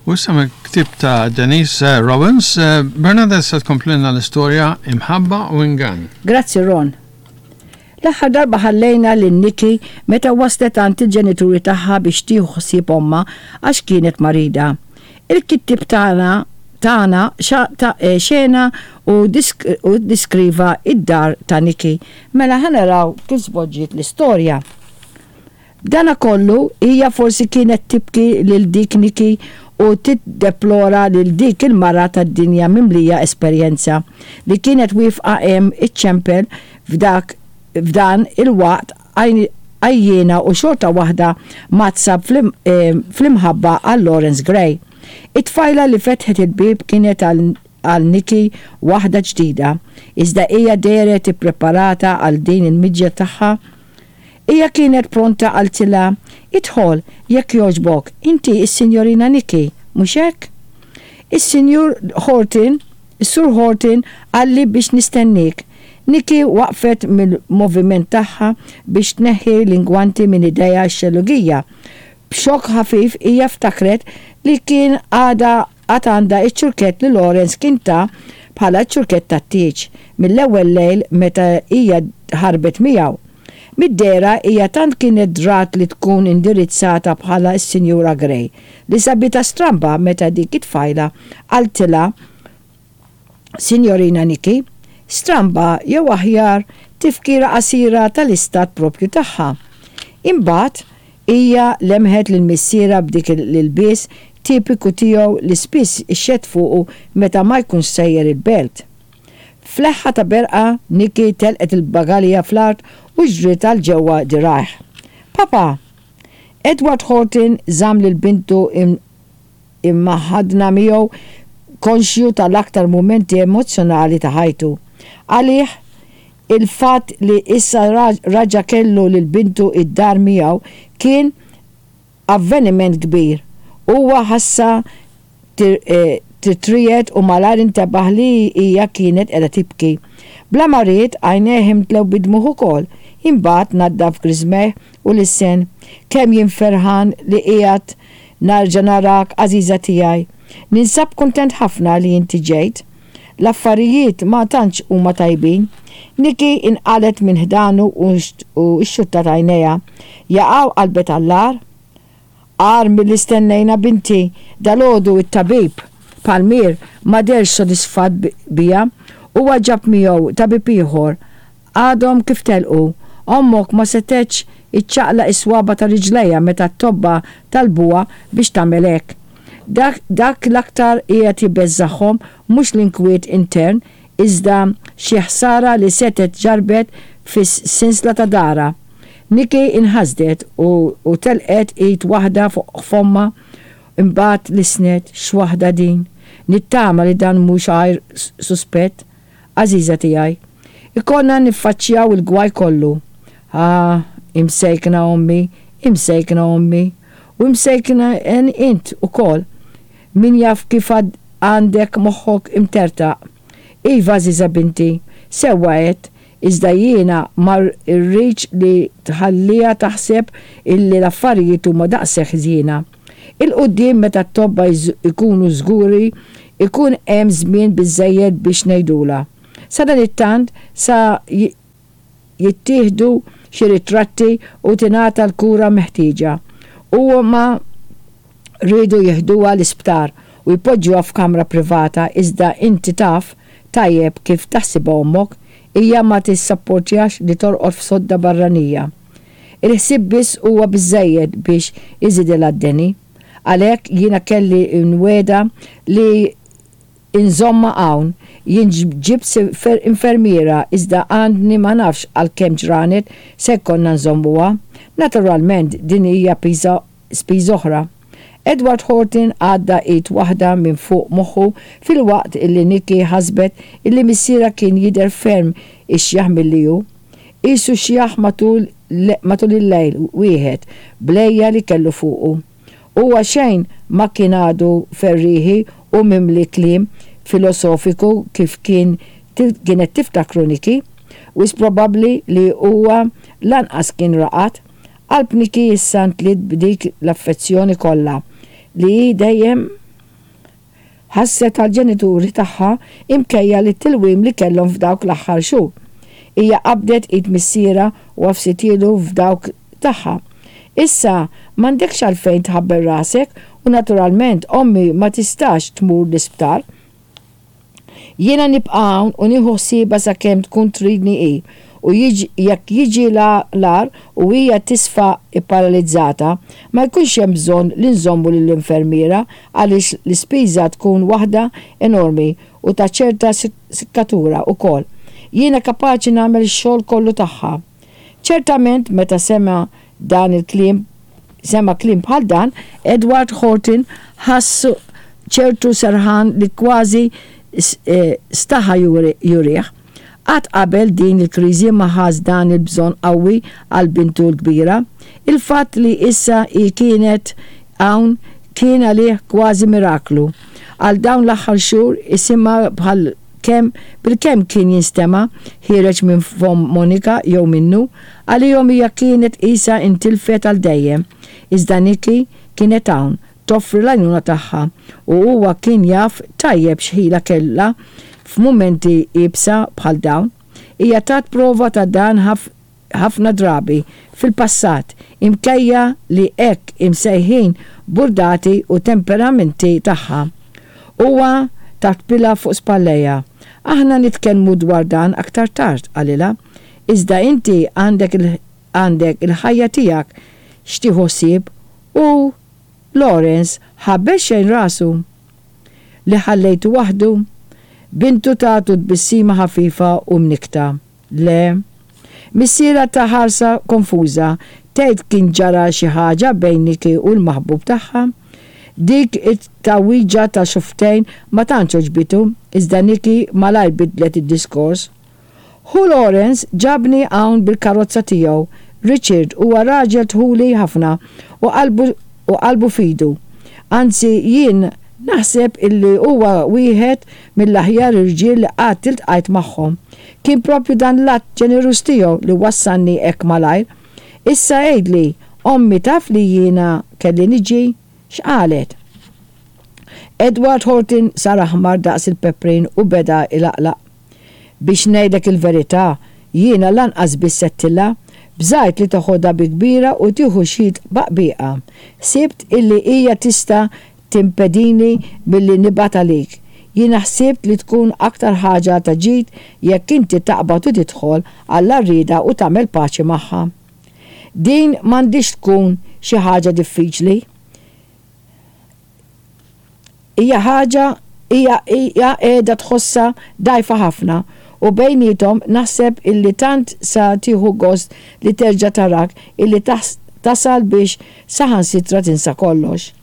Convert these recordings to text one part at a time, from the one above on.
U issa mill-ktieb ta' Denise Robbins, Bernadette se tkomplilna l-istorja Imħabba u Ingann. Grazzi Ron. L-aħħar darba ħallejna lil Nikki meta waslet għand il-ġenituri tagħha biex tieħu ħsieb ommha għax kienet marida. Il-kittieb tagħna tagħna xena u ddiskriva d-dar ta' Nikki. Mela ħa naraw kif żvolġiet l-istorja. B'danakollu, hija forsi kienet tibki lil dik Nikki u tiddeplora lil dik il-mara tad-dinja mimlija esperjenza li kienet wieqfa hemm iċċempel f'dak f'dan il-waqt għajjiena u xorta waħda mgħaddsa fl-imħabba għal Lawrence Gray. It-tfajla li fetħet il-bieb kienet għal għal Nikki waħda ġdida, iżda hija dehret ippreparata għal din il-miġja tagħha. Hija kienet pronta qaltilha, Idħol, jekk jogħġbok, inti s-Sinjorina Nikki, mhux hekk? Is-Sinjur Horton, is-Sur Horton qalli biex nistenniek. Nikki waqfet mill-moviment tagħha biex tneħħi l-ingwanti minn idejha x-xellugija. B'xokk ħafif hija ftakret li kien għadha għad għandha ċ-ċurkett li Lawrence kien ta bħala ċ-ċurkett tat-tieġ mill-ewwel lejl meta hija ħarbet miegħu. Mid-dehra hija tant kienet drat li tkun indirizzata bħala s-Sinjura Grey li sabitha stramba meta dik it-tfajla qaltilha Sinjorina Nikki, stramba jew aħjar tifkira qasira tal-istat proprju tagħha. Imbagħad hija lemħet lil missierha b'dik l-ilbies tipiku tiegħu li spiss ixxedd fuqu meta ma jkunx sejjer il-belt. F'leħħa ta' berqa, Nikki telqet il-bagalja fl-art u ġriet għal ġewwa dirgħajh. Papa! Edward Horton żamm lil bintu immaħħadna miegħu konxju tal-aktar mumenti emozzjonali ta' ħajtu. Għalih, il-fatt li issa raġa' kellu lil bintu id-dar miegħu kien avveniment kbir. Huwa ħassha titriegħed u malajr intebaħ li hija kienet qiegħda tibki. Bla ma ried, għajnejh imtlew bid-dmugħ ukoll. Imbagħad naddaf griżmejh u lissen, Kemm jien ferħan li qiegħed Narġa' narak, għażiża tiegħi. Ninsab kuntent ħafna li inti ġejt. L-affarijiet ma tantx huma tajbin. Nikki inqalgħet minn ħdanu u xxuttat għajnejha. Jaqaw qalbet għall-agħar? Agħar milli stennejna binti. Dalgħodu t-tabib, Palmier, ma deherx sodisfatt bija. Huwa ġab miegħu tabib ieħor. Għadhom kif telqu. Ommok ma setgħetx iċċaqlaq is-swaba' ta' riġlejha meta t-tobba talbuha biex tagħmel hekk. Dak dak l-aktar qiegħed jbeżżagħhom mhux l-inkwiet intern iżda xi ħsara li setgħet ġarrbet fis-sinsla ta' darha. Nikki inħasdet u u telqet id waħda fuq fommha imbagħad lissnet, X'waħda din! Nittama li dan mhux għajr suspett. Għażiża tiegħi, ikollna niffaċċjaw il-gwaj kollu. Ah, imsejkna ommi, imsejkna ommi. U imsejkna int ukoll. Min jaf kif għandek moħħok imtertaq. Iva, għażiża binti, sewwa għedt, iżda jiena ma rridx li tħalliha taħseb illi l-affarijiet huma daqshekk ħżiena. 'il quddiem meta t-tobba jkunu żguri jkun hemm żmien biżżejjed biex ngħidulha. Sadanittant sa jittieħdu xi ritratti u tingħata l-kura meħtieġa. Huma riedu jiħduha l-isptar u jpoġġuha f'kamra privata iżda inti taf tajjeb kif taħsibha ommok, hija ma tissapportjax li torqod f'sodda barranija. Il-ħsieb biss huwa biżżejjed biex iżidilha d-deni. Għalhekk jiena kelli nwegħda li nżommha hawn. Jien ġibt infermiera iżda għandni ma nafx għal kemm ġranet se jkollna nżommuha. Naturalment din hija piża spiża oħra. Edward Horton għadda id waħda minn fuq moħħu filwaqt illi Nikki ħasbet illi missierha kien jidher ferm ixjaħ milli hu. Qisu xjaħ matul matul il-lejl wieħed bl-għejja li kellu fuqu. Huwa xejn ma kien għadu ferrieħi u mimli kliem filosofiku kif kien kienet tiftakru Nikki. Wisq probabbli li huwa lanqas kien raqad. Qalb Nikki issa ntliet b'dik l-affezzjoni kollha li hi dejjem. Ħasset għall-ġenituri tagħha imkejja lit-tilwim li kellhom f'dawk l-aħħar xhur. Hija qabdet id missierha u għafsitielu f'dawk tagħha. Issa m'għandekx għalfejn tħabbel rasek u naturalment ommi ma tistax tmur l-isptar. Jiena nibqa' hawn u nieħu ħsiebha sakemm tkun tridni hi u jekk jiġi l-agħar u hija tisfa pparalizzata, ma jkunx hemm bżonn li nżommu lill-infermiera għaliex l-ispiża tkun waħda enormi u ta' ċerta sikkatura wkoll. Jiena kapaċi nagħmel ix-xogħol kollu tagħha. Ċertament meta sema' dan il-kliem sema' kliem bħal dan, Edward Horton ħass ċertu serħan li kważi staħa jurih. Qatt qabel din il-kriżi ma ħass dan il-bżonn qawwi għal bintu l-kbira. Il-fatt li issa hi kienet hawn kien għalih kważi miraklu. Għal dawn l-aħħar xhur isimha bħal kemm bilkemm kien jinstema' ħiereġ minn fomm Monica jew minnu, għalihom hija kienet qisha intilfet għal dejjem. Iżda Nikki kienet hawn, toffri l-għajnuna tagħha, u huwa kien jaf tajjeb x'ħila kellha f'mumenti iebsa bħal dawn. Hija tat prova ta' dan ħafna drabi fil-passat, imkejja li hekk imsejħin burdati u temperamenti tagħha. Huwa tappilha fuq spallejha. Aħna nitkellmu dwar dan aktar tard, qalilha. Iżda inti għandek għandek il-ħajja tiegħek x'tieħu ħsieb u Lawrence ħabbel xejn rasu. Li ħallejtu waħdu? Bintu tatu tbissima ħafifa u mnikkta. Le. Missierha ta ħarsa konfuża, tgħid kien ġara xi ħaġa bejn Nikki u l-maħbub tagħha? Dik it-tgħawwiġa ta' xufftejn ma tantx għoġbitu, iżda Nikki malajr bidlet id-diskors. Ħu Lawrence ġabni hawn bil-karozza tiegħu. Richard huwa raġel dħuli ħafna u qalbu u qalbu f'idu. Anzi jien naħseb illi huwa wieħed mill-aħjar irġiel li qatt iltqajt magħhom. Kien proprju dan l-att ġeneruż tiegħu li wassalni hekk malajr. Issa għidli, ommi taf li jiena kelli niġi? X'qalet? Edward Horton sar aħmar daqs il-peprin u beda ilaqlaq. Biex ngħidlek il-verità, jiena lanqas biss għedtilha. Bżajt li teħodha bi kbira u tieħu xi tbaqbiqa. Ħsibt illi hija tista' timpedini milli nibgħat għalik. Jiena ħsibt li tkun aktar ħaġa ta' ġid jekk inti taqbad u tidħol għall-għarrieda u tagħmel paċi magħha. Din m'għandhiex tkun xi ħaġa diffiċli. Hija ħaġa hija hija qiegħda tħossha dgħajfa ħafna u bejniethom naħseb illi tant sa tieħu gost li terġa' tarak illi tasal biex saħansitra tinsa kollox.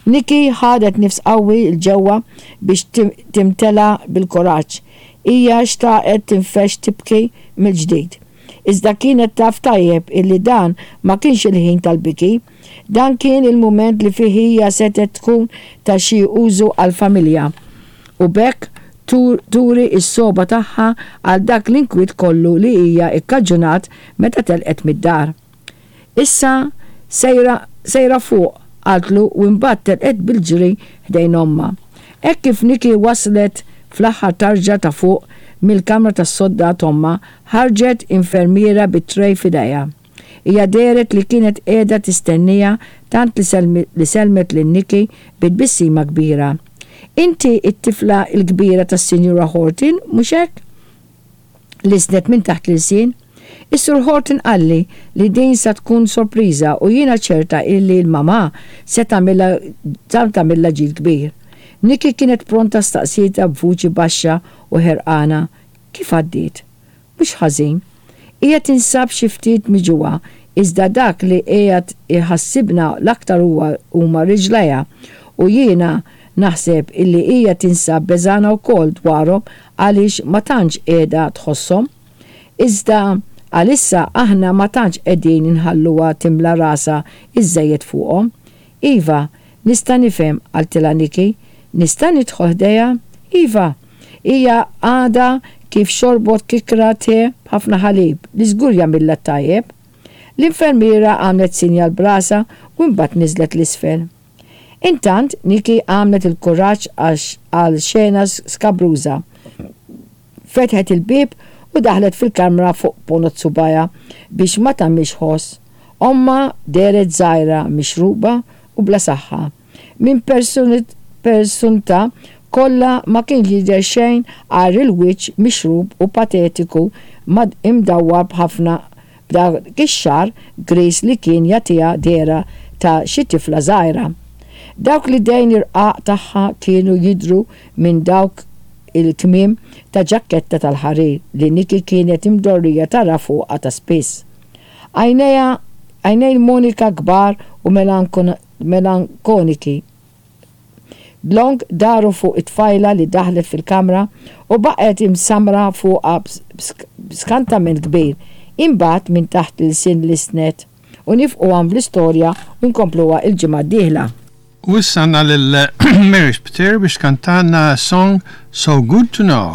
Nikki ħadet nifs qawwi 'l ġewwa biex timtela bil-kuraġġ. Hija xtaqet tinfexx tibki mill-ġdid. Iżda kienet taf tajjeb illi dan ma kienx il-ħin tal-biki. Dan kien il-mument li fih hija setgħet tkun ta' xi użu għall-familja u b'hekk turi s-sogħba tagħha għal dak l-inkwiet kollu li hija kkaġunat meta telqet mid-dar. Issa sejra, sejra fuq, qaltlu u imbagħad telqet bil-ġri ħdejn ommha. Hekk kif Nikki waslet fl-aħħar tarġa ta' fuq mill-kamra tas-sodda t'ommha, ħarġet infermiera bi tray f'idejha. Hija dehret li kienet qiegħda tistenniha tant li li sellmet lil Nikki bi tbissima kbira. Inti t-tifla l-kbira tas-Sinjura Horton, mhux hekk? Lissnet minn taħt l-ilsien. Is-Sur Horton qalli li din sa tkun sorpriża u jiena ċerta illi l-mamà se tagħmilha tagħmilha ġid kbir. Nikki kienet pronta staqsietha b'vuċi baxxa u ħerqana, Kif għaddiet? Mhux ħażin. Hija tinsab xi ftit miġugħa, iżda dak li qiegħed iħassibna l-aktar huwa huma riġlejha u jiena naħseb illi hija tinsab beżgħana wkoll dwarhom għaliex ma tantx qiegħda tħosshom. Iżda għalissa aħna ma tantx qegħdin inħalluha timla rasha iżżejjed fuqhom. Iva, nista' nifhem, qaltilha Nikki. Nista' nidħol ħdejha? Iva! Hija għadha kif xorbot kikra te b'ħafna ħalib li żgur jagħmilha t-tajjeb. L-infermiera għamlet sinjal b'rasha u imbagħad niżlet 'l isfel. Intant, Nikki għamlet il-kuraġġ għal xena skabruża. Fetħet il-bieb u daħlet fil-kamra fuq ponot subgħajha biex ma tagħmilx ħoss. Ommha dehret żgħira, mixruba u bla saħħa. Minn persuntha kollha ma kien jidher xejn għajr il-wiċċ mixrub u patetiku imdawwar b'ħafna b'dak ix-xagħar griż li kien jagħtiha dehra ta' xi tifla żgħira. Dawk l-idejn irqaq tagħha kienu jidhru minn dawk il-kmiem ta' ġakketta tal-ħarir li Nikki kienet imdorrija tara fuqha ta' spiss. Għajnejha, għajnejn Monica kbar u melankoniki, dlonk daru fuq it-tfajla li daħlet fil-kamra u baqgħet imsammra fuqha b'skantament kbir. Imbagħad minn taħt l-ilsien lissnet. U nifqu hawn bl-istorja u nkompluha l-ġimgħa d-dieħla. U issa għandna lil Mary Spiteri biex tkantalna song So Good to Know.